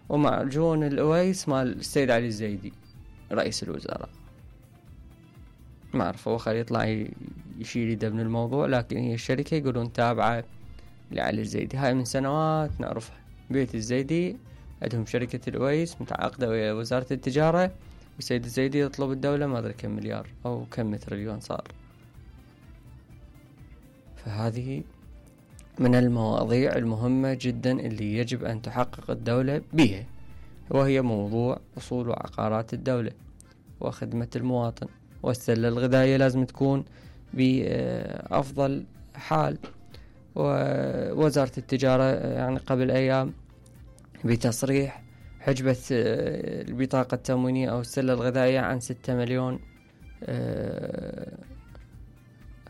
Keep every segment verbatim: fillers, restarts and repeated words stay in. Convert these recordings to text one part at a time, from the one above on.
ومعجون الأويس مال السيد علي الزيدي رئيس الوزراء. ما أعرف هو خلي يطلع يشيل يده من الموضوع، لكن هي الشركة يقولون تابعة لعلي الزيدي. هاي من سنوات نعرفها. بيت الزيدي عندهم شركة الأويس متعاقدة ويا وزارة التجارة، والسيد الزيدي يطلب الدولة ما أدري كم مليار أو كم تريليون صار. فهذه من المواضيع المهمة جدا اللي يجب أن تحقق الدولة بها، وهي موضوع أصول وعقارات الدولة وخدمة المواطن. والسلة الغذائية لازم تكون بأفضل حال. ووزارة التجارة يعني قبل أيام بتصريح حجبة البطاقة التموينية أو السلة الغذائية عن ستة مليون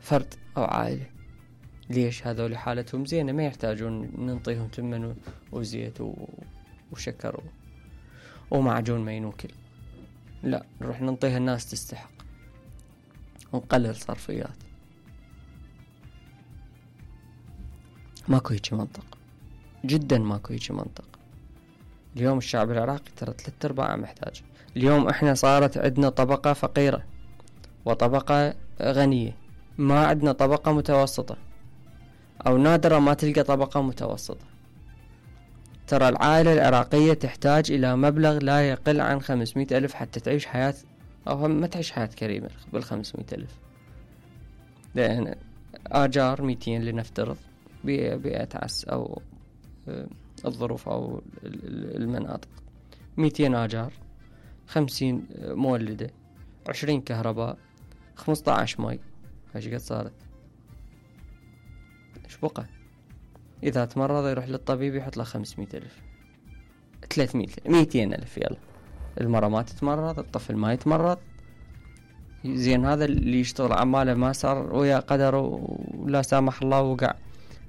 فرد أو عائلة. ليش؟ هذول حالتهم زينة ما يحتاجون ننطيهم تمن وزيت وشكر ومعجون ما ينوكل، لا نروح ننطيها الناس تستحق ونقلل صرفيات. ماكو هيك منطق، جدا ماكو هيك منطق. اليوم الشعب العراقي ترى ثلاث ارباع محتاج. اليوم احنا صارت عندنا طبقة فقيرة وطبقة غنية، ما عندنا طبقة متوسطة، او نادرا ما تلقى طبقة متوسطة. ترى العائلة العراقية تحتاج الى مبلغ لا يقل عن خمسمائة الف حتى تعيش حياة، او ما تعيش حياة كريمة بالخمسمائة الف. لان اجار مئتين لنفترض بأتعس او الظروف او المناطق، مئتين اجار، خمسين مولدة، عشرين كهرباء، خمسة عشر ماي، ايش قد صارت؟ ايش بقى؟ اذا تمرض يروح للطبيب يحط له خمسمائة الف، ثلاثمائة مئتين الف. يلا المرة ما تتمرض، الطفل ما يتمرض، زين هذا اللي يشتغل عماله ما صار ويا قدر ولا سامح الله وقع